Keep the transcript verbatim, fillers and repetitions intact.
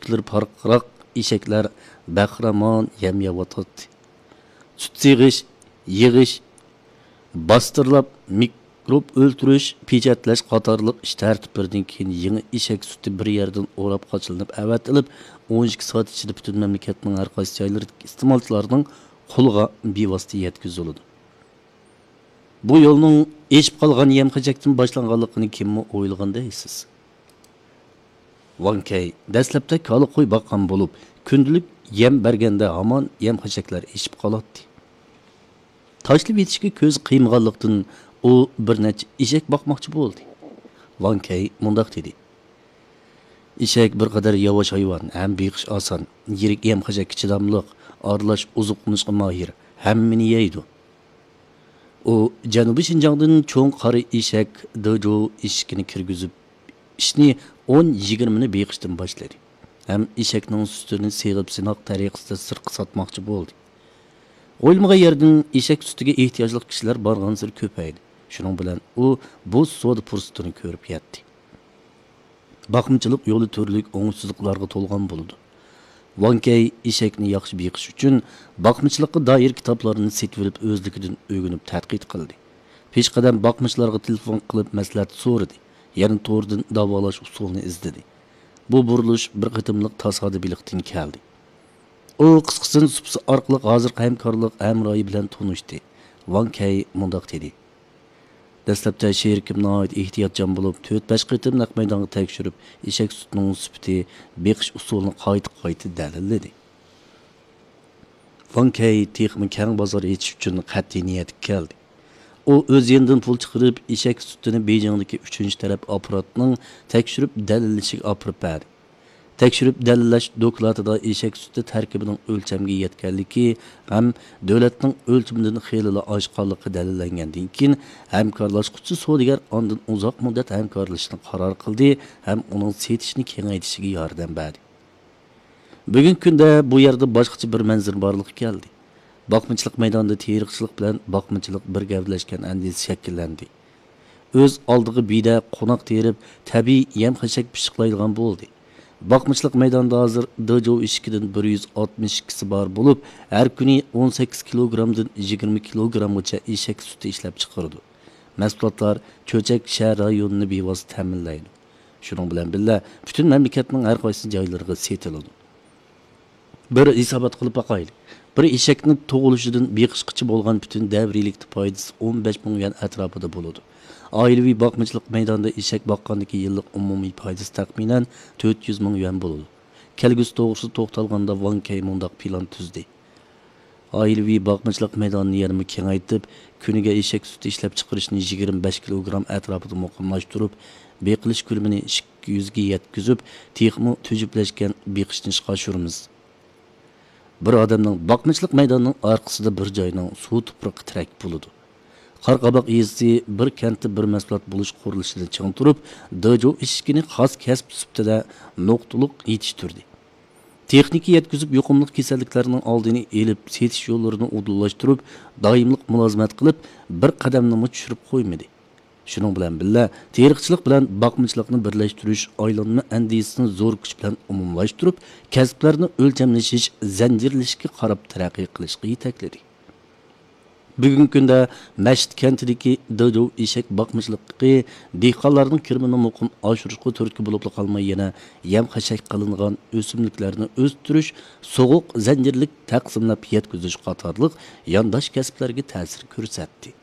سۈتلىرى پارقىراق ئېشەكلەر بەخىرامان يەم يەۋاتاتتى. سۈت سېغىش، يىغىش، باستۇرلاپ مىكروب ئۆلتۈرۈش، پېچەتلەش قاتارلىق ئىش تەرتىپلىرىدىن كېيىن يېڭى ئېشەك سۈتى بىر يەردىن ئوراپ قاچىلىنىپ ئەۋەتىلىپ، ئون ئىككى سائەت ئىچىدە پۈتۈن مەملىكەتنىڭ ھەر قايسى جايلىرىدىكى ئىستېمالچىلارنىڭ قولىغا بىۋاسىتە يەتكۈزۈلىدۇ. بۇ يولنىڭ ئېشىپ قالغان يەم-خەشەكتىن باشلانغانلىقىنى كىممۇ ئويلىغان دەيسىز؟ ۋاڭ كەي دەسلەپتە كالا قوي باققان بولۇپ، كۈندىلىك يەم بەرگەندە ھامان يەم-خەشەكلەر ئېشىپ قالاتتى. تاشلىۋېتىشكە كۆزى قىيمىغانلىقتىن، ئۇ بىر نەچچە ئېشەك باقماقچى بولدى. ۋاڭ كەي مۇنداق دېدى: «ئېشەك بىر قەدەر ياۋاش ھايۋان ھەم بېقىش ئاسان، يىرىك يەم-خەشەككە چىداملىق، ئارىلاش ئوزۇقلىنىشقا ماھىر، ھەممىنى يەيدۇ.» ئۇ جەنۇبىي شىنجاڭدىن چوڭ قارا ئېشەك دېجۇ ئېشىكىنى كىرگۈزۈپ، ئىشنى ئون يىگىرمىنى بېقىشتىن باشلىدى ھەم ئېشەكنىڭ سۈتىنى سېغىپ سىناق تەرىقىسىدە سىرتقا ساتماقچى بولدى. ئويلىمىغان يەردىن ئېشەك سۈتىگە ئېھتىياجلىق كىشىلەر بارغانسېرى كۆپەيدى. شۇنىڭ بىلەن ئۇ بۇ سودا پۇرسىتىنى كۆرۈپ يەتتى. باقمىچىلىق يولى تۈرلۈك ئوڭۇشسىزلىقلارغا تولغان بولىدۇ. ۋاڭ كەي ئېشەكنى ياخشى بېقىش ئۈچۈن باقمىچىلىققا دائىر كىتابلارنى سېتىۋېلىپ، ئۆزلۈكىدىن ئۆگىنىپ تەتقىق قىلدى. پېشقەدەم باقمىچىلارغا تېلېفون قىلىپ مەسلىھەت سورىدى، يەنە توردىن داۋالاش ئۇسۇلىنى ئىزدىدى. بۇ بۇرۇلۇش بىر قېتىملىق تاسادىپىيلىقتىن كەلدى. ئۇ قىسقىسىنى سۇپىسى ئارقىلىق ھازىرقى ھەمكارلىق ھەمراھى بىلەن تونۇشتى. ۋاڭ كەي مۇنداق دېدى: «دەسلەپتە شېرىكىم ناھايىتى ئېھتىياتچان بولۇپ، تۆت-بەش قېتىم نەق مەيدانغا تەكشۈرۈپ، ئېشەك سۈتىنىڭ سۈپىتى، بېقىش ئۇسۇلىنى قايتا-قايتا دەلىللىدى.» ۋاڭ كەي تېخىمۇ كەڭ بازار ئېچىش ئۈچۈن قەتئىي نىيەتكە كەلدى. ئۇ ئۆز يېنىدىن پۇل چىقىرىپ، ئېشەك سۈتىنى بېيجىڭدىكى ئۈچىنچى تەرەپ ئاپپاراتنىڭ تەكشۈرۈپ دەلىللىشىگە ئاپىرىپ بەردى. تەكشۈرۈپ دەلىللەش دوكلاتىدا ئېشەك سۈتى تەركىبىنىڭ ئۆلچەمگە يەتكەنلىكى ھەم دۆلەتنىڭ ئۆلچىمىدىن خېلىلا ئاشقانلىقى دەلىللەنگەندىن كېيىن، ھەمكارلاشقۇچى سودىگەر ئاندىن ئۇزاق مۇددەت ھەمكارلىشىشنى قارار قىلدى ھەم ئۇنىڭ سېتىشنى كېڭەيتىشىگە ياردەم بەردى. بۈگۈنكى كۈندە بۇ يەردە باشقىچە بىر مەنزىرە بارلىققا كەلدى. باقمىچىلىق مەيدانىدا تېرىقچىلىق بىلەن باقمىچىلىق بىر گەۋدىلەشكەن ئەندىزە شەكىللەندى. ئۆز ئالدىغا بىدە قوناق تېرىپ، تەبىئىي يەم-خەشەك پىششىقلايدىغان بولدى. باقمىچىلىق مەيدانىدا ھازىر دېجۇ ئېشىكىدىن بىر يۈز ئاتمىش ئىككىسى بار بولۇپ، ھەر كۈنى ئون سەككىز كىلوگرامدىن يىگىرمە كىلوگرامغىچە ئېشەك سۈتى ئىشلەپچىقىرىدۇ. مەھسۇلاتلار چۆچەك شەھەر رايونىنى بىۋاسىتە تەمىنلەيدۇ. شۇنىڭ بىلەن بىللە، پۈتۈن مەملىكەتنىڭ ھەر قايسى جايلىرىغا سېتىلىدۇ. بىر ھېسابات قىلىپ باقايلى. بىر ئېشەكنى تۇغۇلۇشىدىن بېقىشقىچە بولغان پۈتۈن دەۋرىيلىكتە پايدىسى ئون بەش مىڭ يۈەن ئەتراپىدا بولىدۇ. ئائىلىۋى باقمىچىلىق مەيدانىدا ئېشەك باققاندىكى يىللىق ئومۇمىي پايدىسى تەخمىنەن تۆت يۈز مىڭ يۈەن بولىدۇ. كەلگۈسى توغرىسىدا توختالغاندا، ۋاڭ كەي مۇنداق پىلان تۈزدى. ئائىلىۋى باقمىچىلىق مەيدانىنى يەنىمۇ كېڭەيتىپ، كۈنىگە ئېشەك سۈتى ئىشلەپچىقىرىشنى يىگىرمە بەش كىلوگرام ئەتراپىدا مۇقىملاشتۇرۇپ، بېقىلىش كۆلىمىنى ئىككى يۈزگە يەتكۈزۈپ، تېخىمۇ تۈجۈپلەشكەن بېقىشنى ئىشقا ئاشۇرىمىز. بىر ئادەمنىڭ باقمىچىلىق مەيدانىنىڭ ئارقىسىدا بىر جاينىڭ سۇ تۇپرىقى تىرەك بولىدۇ. قارا قاباق يېزىسى بىر كەنتتە بىر مەھسۇلات بولۇش قۇرۇلۇشىنى چىڭ تۇرۇپ، دېجۇ ئېشىكىنى خاس كەسىپ سۈپىتىدە نۇقتىلىق يېتىشتۈردى. تېخنىكا يەتكۈزۈپ، يۇقۇملۇق كېسەللىكلەرنىڭ ئالدىنى ئېلىپ، سېتىش يوللىرىنى ئۇدۇللاشتۇرۇپ، دائىملىق مۇلازىمەت قىلىپ، بىر قەدەمنىمۇ چۈشۈرۈپ قويمىدى. شۇنىڭ بىلەن بىللە، تېرىقچىلىق بىلەن باقمىچىلىقنى بىرلەشتۈرۈش ئايلانما ئەندىزىسىنى زور كۈچ بىلەن ئومۇملاشتۇرۇپ، كەسىپلەرنى ئۆلچەملىشىش، زەنجىرلىشىشكە قاراپ تەرەققىي قىلىشقا يېتەكلىدى. بۈگۈنكى كۈندە مەشىت كەنتىدىكى دېجۇ ئېشەك باقمىچىلىقى دېھقانلارنىڭ كىرىمىنى مۇقىم ئاشۇرۇشقا تۈرتكە بولۇپلا قالماي، يەنە يەم-خەشەك قىلىنغان ئۆسۈملۈكلەرنى ئۆستۈرۈش، سوغۇق زەنجىرلىك تەقسىملەپ يەتكۈزۈش قاتارلىق يانداش كەسىپلەرگە تەسىر كۆرسەتتى.